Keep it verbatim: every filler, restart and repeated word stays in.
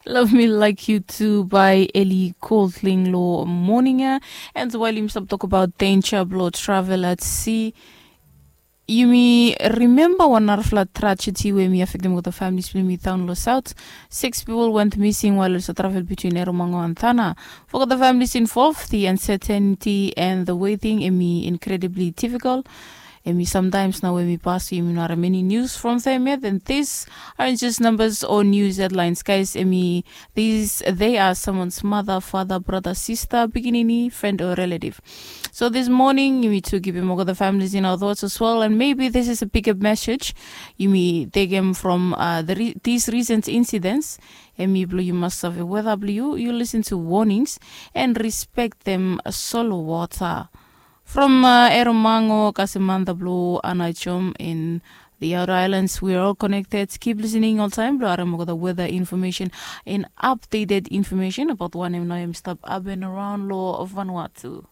Love Me Like You Do by Ellie Goulding lo moning ya. And while yumi stap tok about danger blo travel at sea, yumi remember wan narafala tragedy we mi affectim olgeta families blo yumi down lo south. Six people went missing while it's a travel between Erromango and Tana. For olgeta families involved, the uncertainty and the waiting emi incredibly difficult. Emi sometimes na we mi pass, yumi no have many news from them yet, and these aren't just numbers or news headlines, guys. Emi, these, they are someone's mother, father, brother, sister, pikinini, friend or relative. So this morning, yumi tu givim olgeta families in our thoughts as well, and maybe this is a bigger message yumi taken from uh, the re- these recent incidents. Emi blo yu mas save weda blo yu, yu listen to warnings and respect them solo water. From uh, Erromango, Kasimanda blo Anajom in the outer islands, we're all connected. Keep listening all time blo harem olgeta weather information and updated information about wanem na yumi stap happen around lo Vanuatu.